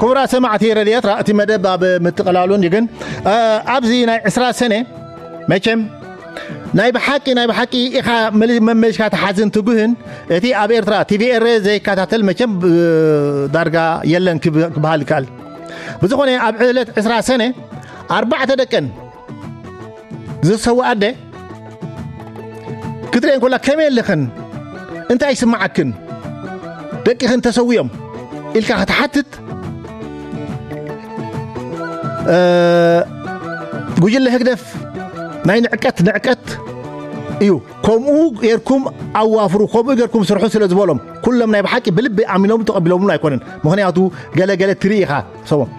ክቡራት ሰማዕቲ ረድዮ ኤርትራ፣ እቲ መደብ ኣብ ምጥቕላሉ እንዲ ግን፣ እ፣ ኣብዚ ናይ ዕስራ ሰነ መቸም ናይ ብሓቂ፣ ናይ ብሓቂ ኢኻ መሊ-፣ መመሊስካ ትሓዝን ትጉህን። እቲ ኣብ ኤርትራ ቲቪ ኤረ ዘይከታተል መቸም፣ እ፣ ዳርጋ የለን ክብ-፣ ክበሃል ይከኣል። ብዝኾነ ኣብ ዕለት ዕስራ ሰነ ኣርባዕተ ደቀን ዝሰዋ ኣደ ክትርእየን ከላ ከመይ ኣለኽን? እንታይ ይስምዓክን? ደቅኽን ተሰዊኦም ኢልካ ክትሓትት፣ እ፣ ጉጅለ ህግደፍ ናይ ንዕቀት ንዕቀት እዩ። ከምኡ ጌርኩም ኣዋፍሩ፣ ከምኡ ጌርኩም ስርሑ ስለ ዝበሎም፣ ኩሎም ናይ ብሓቂ ብልቢ ኣሚኖም ተቐቢሎምሉ ኣይኮነን። ምኽንያቱ ገለ ገለ ትርኢ ኢኻ ሰቦም።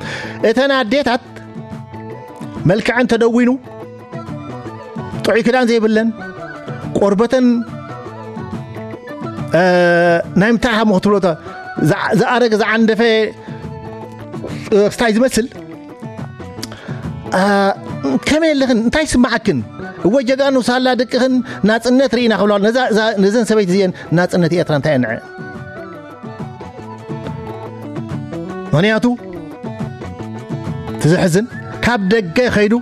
እተን ኣዴታት መልክዐን ተደዊኑ፣ ጥዑይ ክዳን ዘይብለን፣ ቆርበተን፣ እ፣ ናይ ምንታይ ሃሞ ክትብሎ፣ ተ-፣ ዝዓ-፣ ዝኣረገ ዝዓንደፈ፣ እ፣ ክስታይ ዝመስል፣ እ፣ ከመይ ኣለኽን? እንታይ ይስምዓክን? እወ ጀጋኑ ሳላ ደቅኽን ናጽነት ርኢና ክብላ፣ ነዛ፣ እዛ፣ ነዘን ሰበይቲ እዚአን ናጽነት ኤርትራ እንታይ እየን ንዐ? ምኽንያቱ እቲ ዘሕዝን ካብ ደገ ከይዱ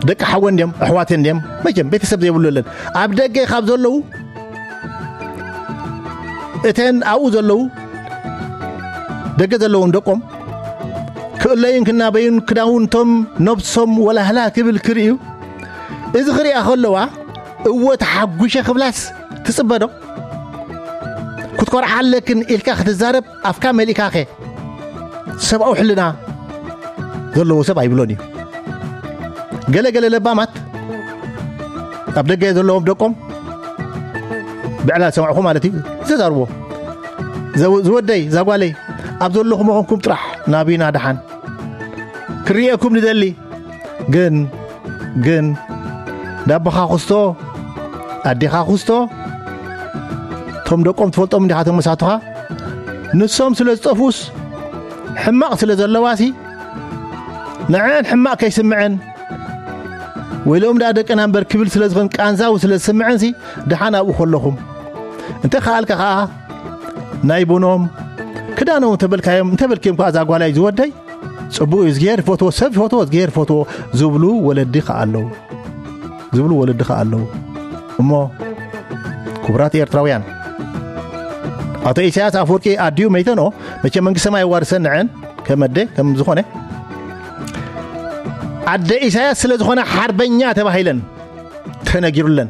ደቂ ሓወን ድዮም ኣሕዋተን ድዮም መቸም ቤተሰብ ዘይብሉ የለን። ኣብ ደገ ካብ ዘለዉ እተን ኣብኡ ዘለዉ ደገ ዘለዎም ደቆም ክእለዩን ክናበዩን ክዳውንቶም ነብሶም ወላህላ ክብል ክርእዩ እዚ ክሪኣ ከለዋ እወ ተሓጒሸ ክብላስ ትጽበዶ? ክትኮርዓ ኣለክን ኢልካ ክትዛረብ ኣፍካ መሊእካኸ ሰብኣዊ ሕልና ዘለዎ ሰብ ኣይብሎን እዩ። ገለ ገለ ለባማት ኣብ ደገ ዘለዎም ደቆም ብዕላ ዝሰምዕኹ ማለት እዩ ዘዛርቦ። ዘው-፣ ዝወደይ ዛጓለይ ኣብ ዘለኹም ኾንኩም ጥራሕ ናብና ደሓን ክርእየኩም ንደሊ። ግን ግን ዳቦኻ ክስቶ ኣዴኻ ክስቶ እቶም ደቆም ትፈልጦም እንዲኻ ተመሳቱኻ ንሶም ስለ ዝጠፍኡስ ሕማቕ ስለ ዘለዋሲ ንዐን ሕማቕ ከይስምዐን ወይ ሎም ደኣ ደቅና እምበር ክብል ስለ ዝኾን ቃንዛው ስለ ዝስምዐንሲ ደሓን ኣብኡ ከለኹም እንተ ከኣልካ ከኣ ናይ ቡኖም ክዳኖም እንተበልካዮም እንተበልክዮም ከኣ እዛ ጓላይ ዝወደይ ጽቡቕ እዩ፣ እዝግሄር ይፈትዎ፣ ሰብ ይፈትዎ፣ እዝግሄር ይፈትዎ ዝብሉ ወለዲ ከኣ ኣለዉ። ዝብሉ ወለዲ ከኣ ኣለዉ። እሞ ክቡራት ኤርትራውያን፣ ኣቶ ኢሳያስ ኣፈወርቂ ኣዲኡ መይተኖ መቸ መንግስቲ ሰማይ የዋርሰን ንዐን ከም ኣደ ከም ዝኾነ ኣደ ኢሳያስ ስለ ዝኾነ ሓርበኛ ተባሂለን ተነጊሩለን።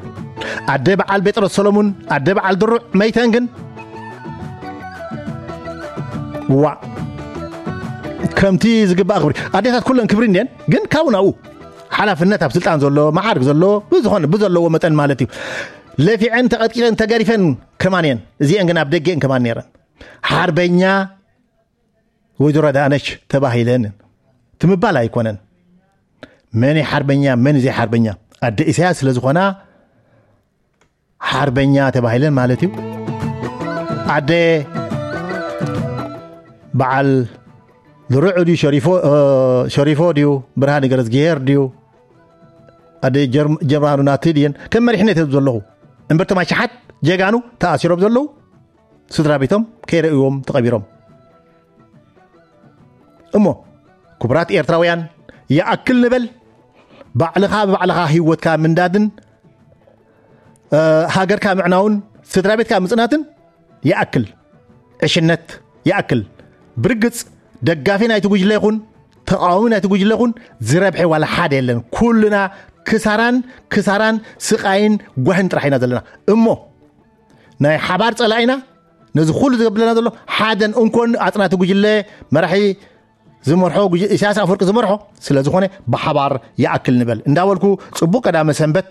ኣደ በዓል ጴጥሮስ ሰሎሙን፣ ኣደ በዓል ድሩዕ መይተን ግን ዋ ከምቲ ዝግባእ ክብሪ ኣዴታት ኩለን ክብሪ እንድየን ግን ካብኡ ናብኡ ሓላፍነት ኣብ ስልጣን ዘሎ መዓርግ ዘሎ ብዝኾነ ብዘለዎ መጠን ማለት እዩ። ለፊዐን ተቐጥቂጠን ተገሪፈን ከማን እየን። እዚአን ግን ኣብ ደገ እየን ከማን ነይረን። ሓርበኛ ወይዘሮ ኣዳነች ተባሂለን ትምባል ኣይኮነን። መን እዩ ሓርበኛ መን እዩ ዘይሓርበኛ? ኣደ ኢሳያስ ስለ ዝኾና ሓርበኛ ተባሂለን ማለት እዩ። ኣደ በዓል ዝርዑ ድዩ ሸሪፎ፣ እ፣ ሸሪፎ ድዩ ብርሃነ ገረዝግሄር ድዩ ኣደ ጀርም-፣ ጀርማኑ ናቲ ድየን ከም መሪሕነት እየ ዘለኹ እምበር እቶም ኣሽሓት ጀጋኑ ተኣሲሮም ዘለዉ ስድራ ቤቶም ከይረእዎም ተቐቢሮም። እሞ ክቡራት ኤርትራውያን ይኣክል ንበል። ባዕልኻ ብባዕልኻ ህይወትካ ምንዳድን፣ እ፣ ሃገርካ ምዕናውን ስድራ ቤትካ ምጽናትን ይኣክል። ዕሽነት ይኣክል። ብርግጽ ደጋፊ ናይቲ ጉጅለ ይኹን ተቓዋሚ ናይቲ ጉጅለ ይኹን ዝረብሐ ዋላ ሓደ የለን። ኩልና ክሳራን ክሳራን ስቓይን ጓህን ጥራሕ ኢና ዘለና። እሞ ናይ ሓባር ጸላኢና ነዚ ኩሉ ዝገብለና ዘሎ ሓደን እንኮን ኣጽናቲ ጉጅለ መራሒ ዝመርሖ ጉጅ-፣ ኢሳያስ ኣፈወርቂ ዝመርሖ ስለ ዝኾነ ብሓባር ይኣክል ንበል እንዳበልኩ ጽቡቕ ቀዳመ ሰንበት